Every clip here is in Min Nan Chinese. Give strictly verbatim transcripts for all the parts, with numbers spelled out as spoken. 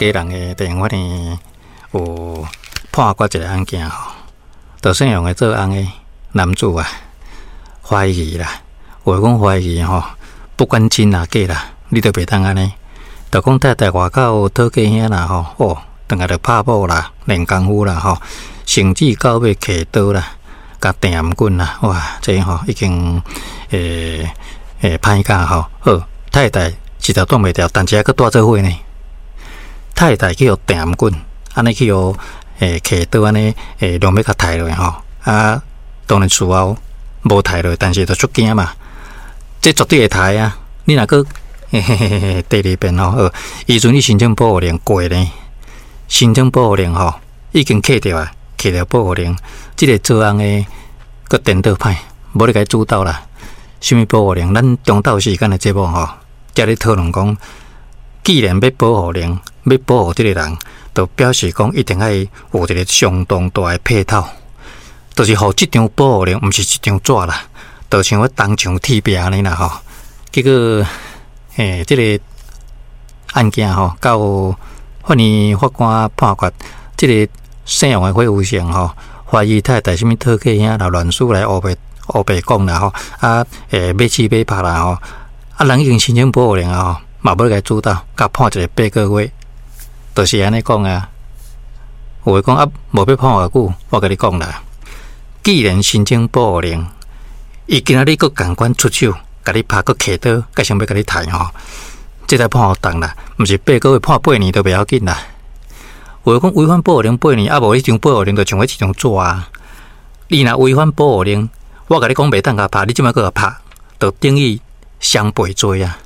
基隆的地方法院有判決一个案件吼，就姓王的做翁的男子啊，懷疑啦，有的講懷疑吼，不管真抑假啦，你都袂當按呢。就講太太外口討價兄啦吼，哦，轉來就拍某啦，練功夫啦吼，甚至到尾提刀啦，共碇頷頸啦，哇，這吼已經欸欸歹甲吼，好，太太實在擋袂牢，但是猶閣蹛做伙呢。太太去予碇頷頸，按呢去予欸提刀按呢欸，量欲共刣落吼，啊，當然事後無刣落，但是就足驚嘛，這絕對會刣啊！你若閣嘿嘿嘿嘿，第二遍吼，好，伊陣你申請保護令過呢，申請保護令吼，已經揢著啊，揢著保護令，這个做翁的閣顛倒歹，無咧共伊主導啦。啥物保護令？咱中晝時間的節目吼，才咧討論講，既然欲保護令，欲保護這个人，就表示講一定愛有一个相當大的配套，就是予這張保護令，毋是一張紙啦，就像我銅牆鐵壁按呢啦吼。結果，欸，這个案件吼，到法院法官判決，這个姓王的火有成吼，懷疑太太啥物討價兄啦，亂說來烏白烏白講啦吼，啊，欸，欲試欲拍啦吼，啊，人已經申請保護令啊吼，嘛欲共伊主導，共判一个八個月，就是按呢講啊。有的講啊，無欲判偌久，我共你講啦，既然申請保護令，伊今仔日閣仝款出手，共你拍，閣提刀，閣想欲共你刣吼，這才判予重啦，毋是八個月判八年都袂要緊啦。有的講違反保護令八年，啊無彼張保護令就像彼一張紙啊。你若違反保護令，我共你講袂當共拍，你這擺閣共拍，就等於雙倍罪啊！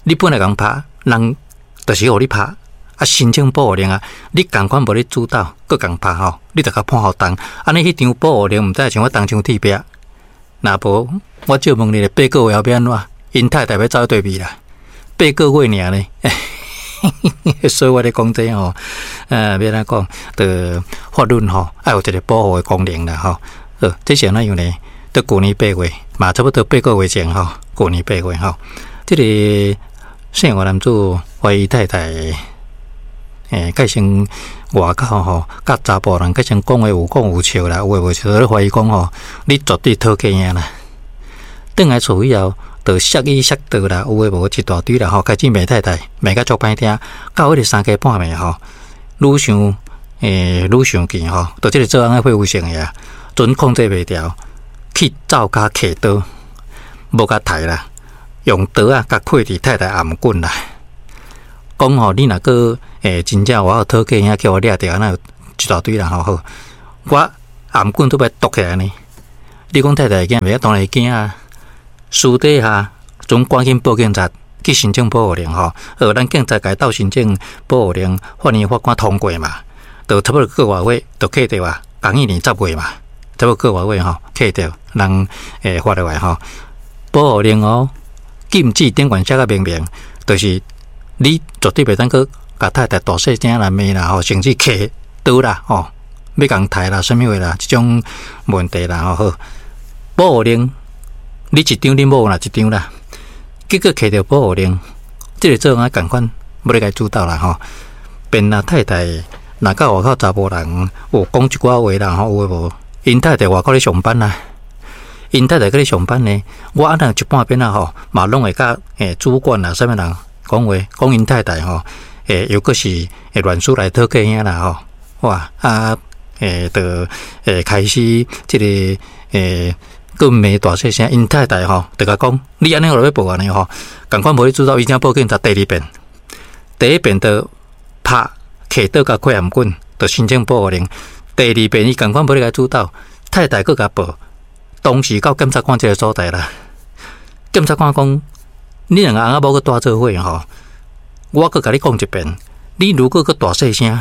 你本來共拍，人就是予你拍，啊申請保護令啊，你仝款無咧主導，閣共拍吼，你就共判予重。按呢彼張保護令毋知像我銅牆鐵壁，若無我借問你，八個月後欲按怎？𪜶太太欲走佗位啦，八個月爾呢？所以我咧講這吼，呃，欲按怎講？就法律吼，愛有一个保護的功能啦吼。好，這是按怎樣呢？佇舊年八月，嘛差不多八個月前吼，舊年八月吼，這个姓王男子懷疑太太，欸，蓋先外口吼，佮查埔人蓋先講話有講有笑啦，有的無笑，咧懷疑講吼，你絕對討價兄啦。轉來厝以後，就摔椅摔桌啦，有的無一大堆啦吼，開始罵太太，罵甲足歹聽。到彼个三更半暝吼，愈想欸愈生氣吼，就這个做翁的火有性的啊，陣控制袂牢，去灶跤提刀，無共刣啦，用刀仔共開佇太太頷頸啦。講吼，你若閣欸真正外口討價兄叫我掠著，按呢一大堆啦吼好，我頷頸都欲剁起來呢。你講太太會驚袂？當然會驚啊！私底下，陣趕緊報警察去申請保護令吼。好，咱警察共伊鬥申請保護令，法院法官通過嘛，就差不多個外月就揢著啊。仝一年十月嘛，差不多個外月吼，揢著人會發落來吼。保護令哦，禁止頂懸寫甲明明，就是你絕對袂當閣共太太大細聲來罵啦吼，甚至提刀啦吼，欲共刣啦，啥物話啦，這種問題啦吼。好，保護令。你一張，恁某若一張啦，結果揢著保護令，這个做翁仝款無咧共伊主導啦吼。便若太太若佮外口查埔人有講一寡話啦吼，有的無？𪜶太太外口咧上班啦，𪜶太太閣咧上班呢。我按呢一半邊仔吼，嘛攏會佮欸主管啦，啥物人講話，講𪜶太太吼，欸又閣是會亂說來討價兄啦吼。哇啊，欸，就欸開始這个欸。閣罵大細聲，𪜶太太吼，就共講，你按呢我欲報案吼，仝款無咧主導，伊才報警察第二遍，第一遍就拍提刀共開頷頸，就申請保護令。第二遍伊仝款無咧共主導，太太閣共報，當時到檢察官這个所在啦。檢察官講，你兩个翁仔某閣蹛做伙吼，我閣共你講一遍，你如果閣大細聲，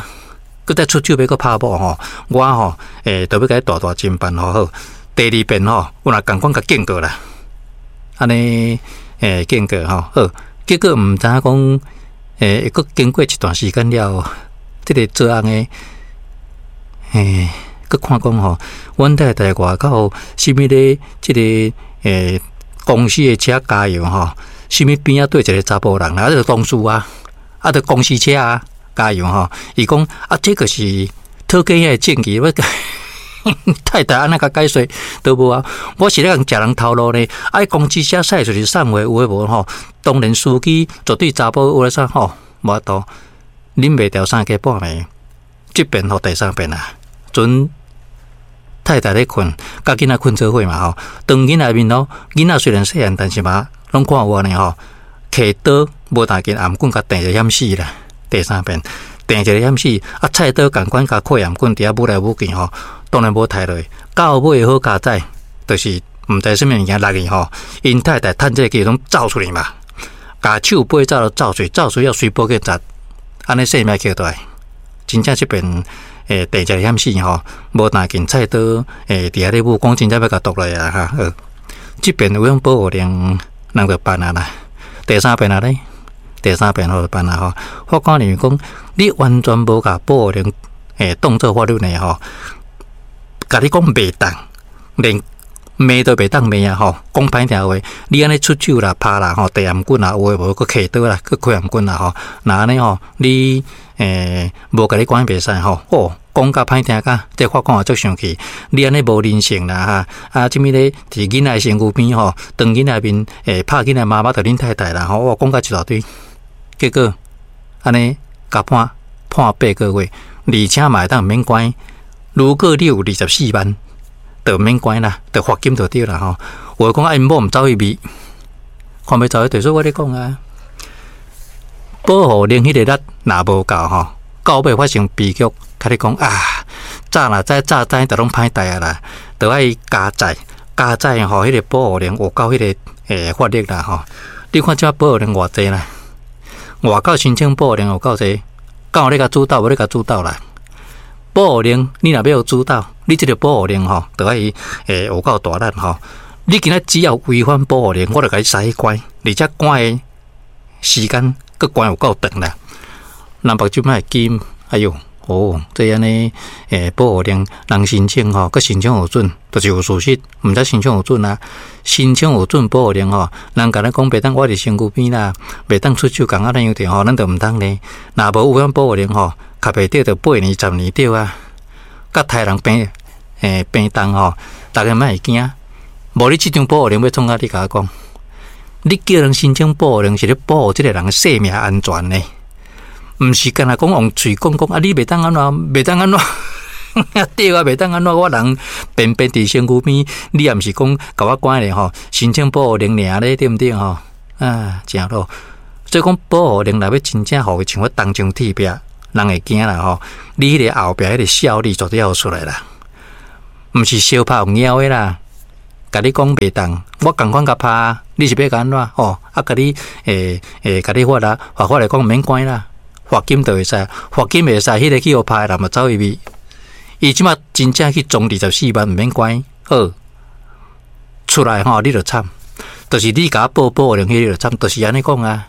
閣再出手欲閣拍某吼，我吼欸，就欲共你大大偵辦吼好。第二遍吼，有若仝款共警告啦，按呢欸警告吼好，結果毋知影講欸，閣經過一段時間了，這个做翁的欸，閣看講吼，阮太太外口啥物咧？這个欸公司的車加油吼，啥物邊仔綴一个查埔人啦，啊，這個同事啊，啊，著公司車啊，加油吼！伊講啊，這個是討價的證據，我太太按呢共解說都無啊。我是咧共食人頭路呢，啊，公司車駛出去送貨有的無吼？當然司機絕對查埔有咧啥吼，無法度，忍袂牢三更半暝，這遍予第三遍啊，陣太太咧睏，佮囡仔睏做伙嘛吼。當囡仔面咯，囡仔雖然細漢，但是嘛攏看有呢吼。提刀無當緊頷棍共電一個險死啦。第三遍電一個險死，啊，菜刀仝款共開頷棍佇遐舞來舞去吼，當然無刣落。到尾好佳哉，就是毋知啥物物件落去吼，𪜶太太趁這個機會攏走出去嘛，共手背走都走出去，走出去予隨報警察，按呢性命捡倒來。真正這邊欸，電一個險死吼，無當緊菜刀欸，佇遐咧舞，講真正欲共剁落啊哈。這邊有用保護令，人就辦啊啦。第三遍啊咧，第三遍好就辦啊吼。法官認為講，你完全無共保護令欸當做法律呢吼，共你講袂當，連罵都袂當罵啊吼。講歹聽話，你按呢出手啦、拍啦吼、遞頷棍啦，有的無閣提刀啦、閣開頷棍啦吼。若按呢吼，你欸無共你關袂使吼。哦，講甲歹聽甲，這法官也足生氣。你按呢無人性啦哈！啊，這物咧佇囡仔身軀邊吼，當囡仔面欸拍囡仔媽媽，就恁太太啦吼。哦，講甲一大堆，結果按呢共判判八個月，而且嘛會當免關。如果你有二十四萬，就免關啦，就罰金就對啦吼。有的講啊，𪜶某毋走去避，看欲走去對，所以我咧講啊，保護令彼個力若無夠吼，到尾發生悲劇，共你講啊，早若知早知就攏歹代啊啦，就愛加載加載吼，彼個保護令有夠彼個欸法力啦吼。你看這保護令偌濟啦，外口申請保護令有夠濟，敢有咧共主導，無咧共主導啦。保護令你若欲予主導，你這個保護令吼，就愛欸有夠大力吼。你今仔只要違反保護令，我就共你塞去關，而且關的時間閣關有夠長啦。南北這擺會記，哎喲，哦，這按呢欸保護令人申請吼，閣申請予准，就是有事實，毋知申請予准啊。申請予准保護令吼，人共咱講袂當倚佇身軀邊啦，袂當出手共按呢樣著吼，咱就毋通呢。若無違反保護令吼，較袂著就八年十年對啊。佮刣人病欸病重吼，逐家莫會驚。無你這張保護令欲創啥？你共我講，你叫人申請保護令是咧保護這個人的性命安全呢，毋是干焦講用喙講講啊！你袂當按怎，袂當按怎，對啊，袂當按怎，我人便便佇身軀邊，你也毋是講共我關咧吼，申請保護令爾咧，對毋對吼？啊，誠好。所以講保護令若欲真正予伊像我銅牆鐵壁，人會驚啦吼。你彼個後壁彼個效力絕對要出來啦，毋是相拍用枵的啦。共你講袂當，我仝款共拍，你是欲共按怎？吼，啊，共你欸欸，共你罰啦，罰法來講免關啦，罰金就會使，罰金袂使，彼個去予拍的人嘛走去避。伊這馬真正去裝二十四萬毋免關，好出來吼，你就慘，就是你共我報保護令，彼個就慘，就是按呢講啊。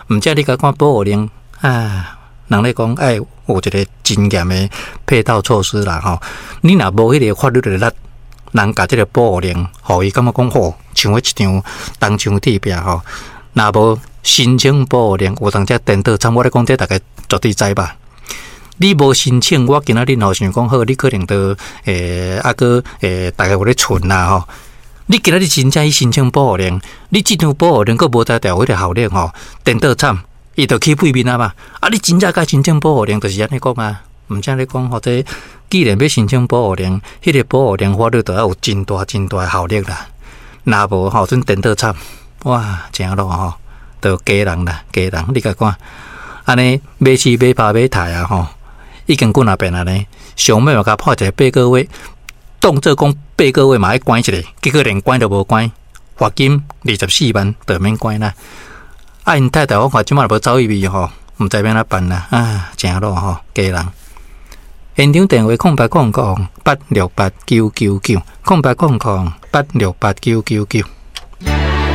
毋才你共看保護令啊，人咧講愛有一個真嚴的配套措施啦吼。你若無彼個法律的力，人共這個保護令，予伊感覺講吼，像彼一張銅牆鐵壁吼。若無申請保護令，有當時顛倒慘。我咧講這逐家絕對知吧？你無申請，我今仔日吼想講好，你可能都欸啊閣欸，逐家有咧存啦吼。你今仔日真正去申請保護令，你這張保護令閣無才調彼個效力吼，顛倒慘，伊就去背面啊嘛。啊，你真正共申請保護令，就是按呢講啊。毋才咧講，或者既然欲申請保護令，彼個保護令法律就愛有真大真大的效力啦。若無吼，陣顛倒慘，哇，誠落吼，就家人啦，家人，你共看，按呢買鼠買拍買刣啊吼，已經幾若遍啊呢。上尾嘛共判一個八個月，當做講八個月嘛愛關一下，結果連關都無關，罰金二十四萬就免關啦。啊，𪜶太太我看這馬無走去避吼，毋知欲按怎辦啦，啊，誠落吼，家人。現場電話空八空空八六八九九九，空八空空八六八九九九。